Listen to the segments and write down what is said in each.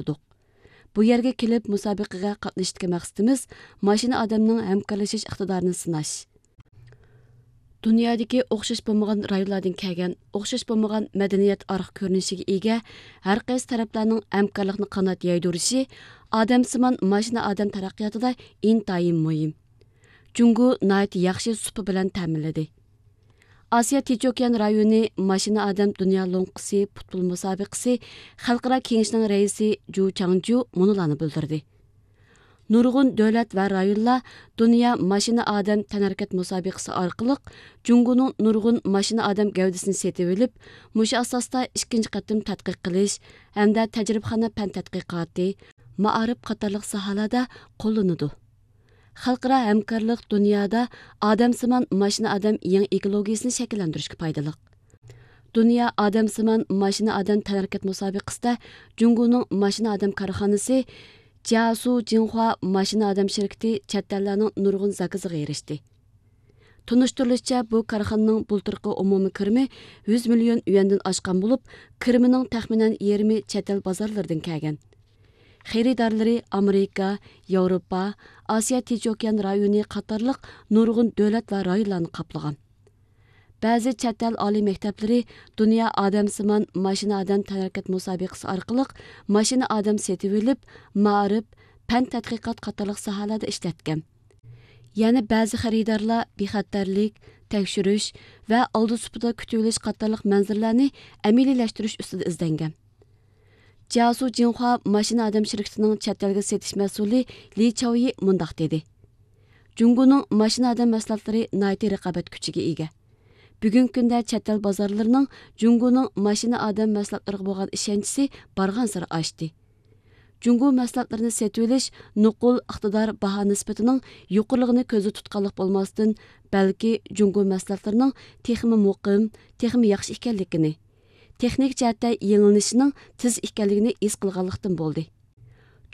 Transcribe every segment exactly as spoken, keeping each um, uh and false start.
باشلىدۇق. بۇ يەرگە كېلىپ مۇسابىقىگە قاتنىشىشتىكى مەقسىتىمىز ماشىنا ئادەمنىڭ ھەمكارلىشىش ئىقتىدارىنى سىناش. دۇنيادىكى ئوخشاش بولمىغان رايونلاردىن كەلگەن، ئوخشاش بولمىغان مەدەنىيەت ئارقا كۆرۈنۈشىگە ئىگە ھەر قايسى تەرەپلەرنىڭ ھەمكارلىقنى قانات يايدۇرۇشى ئادەمسىمان ماشىنا ئادەم تەرەققىياتىدا ئىنتايىن مۇھىم. جۇڭگو ناھايىتى ياخشى سۇپا بىلەن تەمىنلىدى. ئاسىيا تىنچ ئوكيان رايونى ماشىنا ئادەم دۇنيا لوڭقىسى پۇتبول مۇسابىقىسى خەلقئارا كېڭىشىنىڭ رەئىسى جۇ چاڭجيۇ مۇنۇلارنى بىلدۈردى: نۇرغۇن دۆلەت ۋە رايونلار دۇنيا ماشىنا ئادەم تەنھەرىكەت مۇسابىقىسى ئارقىلىق جۇڭگونىڭ نۇرغۇن ماشىنا ئادەم گەۋدىسىنى سېتىۋېلىپ، مۇشۇ ئاساستا ئىككىنچى قېتىم تەتقىق قىلىش ھەمدە تەجرىبىخانا پەن تەتقىقاتى، مائارىپ قاتارلىق ساھەلەردە قوللىنىدۇ. خەلقئارا ھەمكارلىق دۇنيادا ئادەمسىمان ماشىنا ئادەم يېڭى ئېكولوگىيىسىنى شەكىللەندۈرۈشكە پايدىلىق. دۇنيا ئادەمسىمان ماشىنا ئادەم تەنھەرىكەت مۇسابىقىسىدە جۇڭگونىڭ ماشىنا ئادەم كارخانىسى جياسۇ جىنخۇا ماشىنا ئادەم شىركىتى چەت ئەللەرنىڭ نۇرغۇن زاكىزىغا ئېرىشتى. تونۇشتۇرۇلۇشىچە، بۇ كارخانىنىڭ بۇلتۇرقى ئومۇمىي كىرىمى يۈز مىليون يۈەندىن ئاشقان بولۇپ، كىرىمىنىڭ تەخمىنەن يېرىمى چەت ئەل بازارلىرىدىن كەلگەن. خېرىدارلىرى ئامېرىكا، ياۋروپا، ئاسىيا تىنچ ئوكيان رايونى قاتارلىق نۇرغۇن دۆلەت ۋە رايونلارنى قاپلىغان. بەزى چەت ئەل ئالىي مەكتەپلىرى دۇنيا ئادەمسىمان ماشىنا ئادەم تەنھەرىكەت مۇسابىقىسى ئارقىلىق ماشىنا ئادەم سېتىۋېلىپ، مائارىپ، پەن تەتقىقات قاتارلىق ساھەلەردە ئىشلەتكەن. يەنە بەزى خېرىدارلار بىخەتەرلىك، تەكشۈرۈش ۋە ئالدى سۇپىدا كۈتۈۋېلىش قاتارلىق مەنزىرىلەرنى ئەمەلىيلەشتۈرۈش ئۈستىدە ئىزدەنگەن. جياسۇ جىنخۇا ماشىنا ئادەم شىركىتىنىڭ چەت ئەلگە سېتىش مەسئۇلى لى چاۋيى مۇنداق دېدى: جۇڭگونىڭ ماشىنا ئادەم مەھسۇلاتلىرى ناھايىتى رىقابەت كۈچىگە ئىگە. بۈگۈنكى كۈندە چەت ئەل بازارلىرىنىڭ جۇڭگونىڭ ماشىنا ئادەم مەھسۇلاتلىرىغا بولغان ئىشەنچىسى بارغانسېرى ئاشتى. جۇڭگو مەھسۇلاتلىرىنى سېتىۋېلىش نوقۇل ئىقتىدار باھا نىسبىتىنىڭ يۇقىرىلىقىنى كۆزدە تۇتقانلىق بولماستىن، بەلكى جۇڭگو مەھسۇلاتلىرىنىڭ تېخىمۇ مۇقىم، تېخىمۇ ياخشى ئىكەنلىكىنى، تېخنىكا جەھەتتە يېڭىلىنىشىنىڭ تېز ئىكەنلىكىنى ھېس قىلغانلىقتىن بولدى.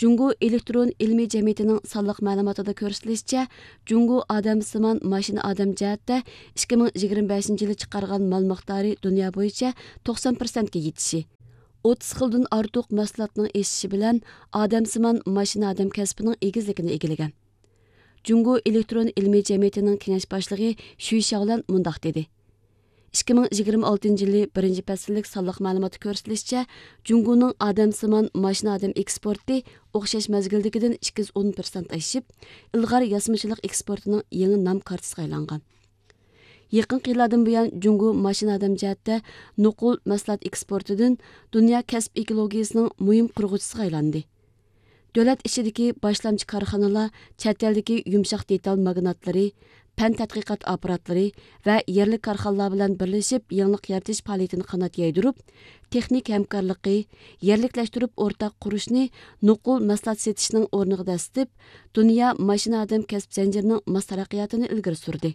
جۇڭگو ئېلېكترون ئىلمىي جەمئىيىتىنىڭ سانلىق مەلۇماتىدا كۆرسىتىلىشىچە، جۇڭگو ئادەمسىمان ماشىنا ئادەم جەھەتتە ئىككى مىڭ يىگىرمە بەشىنچى يىلى چىقارغان مال مىقدارى دۇنيا بويىچە توقسان پىرسەنتكە يېتىشى، ئوتتۇز خىلدىن ئارتۇق مەھسۇلاتنىڭ ئېشىشى بىلەن ئادەمسىمان ماشىنا ئادەم كەسپىنىڭ ئېگىزلىكىنى ئىگىلىگەن. جۇڭگو ئېلېكترون ئىلمىي جەمئىيىتىنىڭ كېڭەش باشلىقى شۈي شياۋلەن مۇنداق دېدى: ئىككى مىڭ يىگىرمە ئالتىنچى يىلى بىرىنچى پەسىللىك سانلىق مەلۇماتتا كۆرسىتىلىشىچە، جۇڭگونىڭ ئادەمسىمان ماشىنا ئادەم ئېكسپورتى ئوخشاش مەزگىلدىكىدىن ئىككى يۈز ئون پىرسەنت ئېشىپ، ئىلغار ياسىمىچىلىق ئېكسپورتىنىڭ يېڭى نام كارتىسىغا ئايلانغان. يېقىنقى يىللاردىن بۇيان، جۇڭگو ماشىنا ئادەم جەھەتتە نوقۇل مەھسۇلات ئېكسپورتىدىن دۇنيا كەسىپ ئېكولوگىيىسىنىڭ مۇھىم قۇرغۇچىسىغا ئايلاندى. دۆلەت ئىچىدىكى باشلامچى كارخانىلار چەت ئەلدىكى يۇمشاق دېتال ماگناتلىرى، پەن تەتقىقات ئاپپاراتلىرى ۋە يەرلىك كارخانىلار بىلەن بىرلىشىپ يېڭىلىق يارىتىش پائالىيىتىنى قانات يايدۇرۇپ، تېخنىكا ھەمكارلىقى، يەرلىكلەشتۈرۈپ ئورتاق قۇرۇشنى نوقۇل مەھسۇلات سېتىشنىڭ ئورنىغا دەسسىتىپ، دۇنيا ماشىنا ئادەم كەسىپ زەنجىرىنىڭ ماس تەرەققىياتىنى ئىلگىرى سۈردى.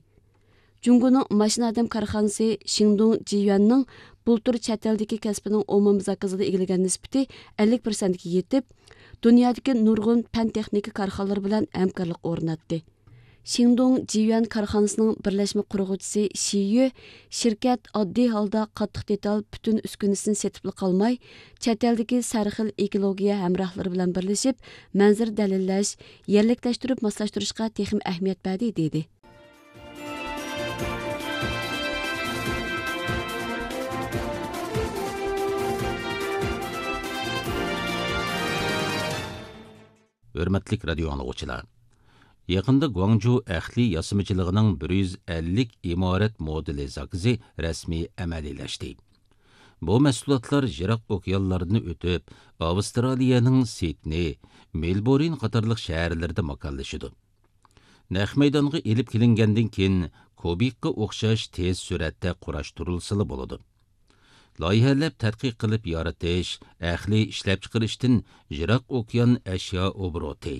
جۇڭگونىڭ ماشىنا ئادەم كارخانىسى شىڭدۇڭ جىيۈەننىڭ بۇلتۇر چەت ئەلدىكى كەسپىنىڭ ئومۇمىي زاكىزىدا ئىگىلىگەن نىسبىتى ئەللىك پىرسەنتكە يېتىپ، دۇنيادىكى نۇرغۇن پەن تېخنىكا كارخانىلىرى بىلەن ھەمكارلىق ئورناتتى. شىڭدۇڭ جىيۈەن كارخانىسىنىڭ بىرلەشمە قۇرغۇچىسى شى يۈ، شىركەت ئاددىي ھالدا قاتتىق دېتال پۈتۈن ئۈسكۈنىسىنى سېتىپلا قالماي، چەت ئەلدىكى سەرخىل ئېكولوگىيە ھەمراھلىرى بىلەن بىرلىشىپ، مەنزىرە دەلىللەش، يەرلىكلەشتۈرۈپ ماسلاشتۇرۇشقا تېخىمۇ ئەھمىيەت بەردى، دېدى. ھۆرمەتلىك رادىيو ئاڭلىغۇچىلار! يېقىندا گۇاڭجۇ ئەھلى ياسىمىچىلىقىنىڭ بىر يۈز ئەللىك ئىمارەت مودېلى زاكىزى رەسمىي ئەمەلىيلەشتى. بۇ مەھسۇلاتلار يىراق ئوكيانلاردىن ئۆتۈپ، ئاۋسترالىيەنىڭ سىدنېي، مېلبورن قاتارلىق شەھەرلىرىدە ماكانلىشىدۇ. نەق مەيدانغا ئېلىپ كېلىنگەندىن كېيىن، كۇبىكقا ئوخشاش تېز سۈرئەتتە قۇراشتۇرۇلسىلا بولىدۇ. لايىھەلەپ تەتقىق قىلىپ يارىتىش، ئەقلىي ئىشلەپچىقىرىشتىن يىراق ئوكيان ئەشيا ئوبوروتى،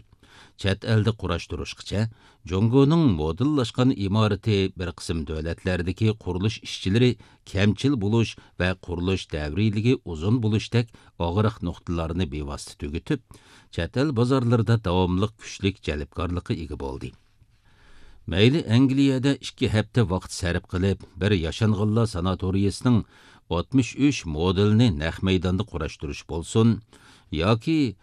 چەت ئەلدە قۇراشتۇرۇشقىچە، جۇڭگونىڭ مودېللاشقان ئىمارىتى بىر قىسىم دۆلەتلەردىكى قۇرۇلۇش ئىشچىلىرى كەمچىل بولۇش ۋە قۇرۇلۇش دەۋرىيلىكى ئۇزۇن بولۇشتەك ئاغرىق نۇقتىلارنى بىۋاسىتە تۈگىتىپ، چەت ئەل بازارلىرىدا داۋاملىق كۈچلۈك جەلپكارلىققا ئىگە بولدى. مەيلى ئەنگلىيەدە ئىككى ھەپتە ۋاقىت سەرپ قىلىپ، بىر ياشانغانلار ساناتورىيىسىنىڭ ئاتمىش ئۈچ مودېلىنى نەق مەيداندا قۇراشتۇرۇش بولسۇن، ياكى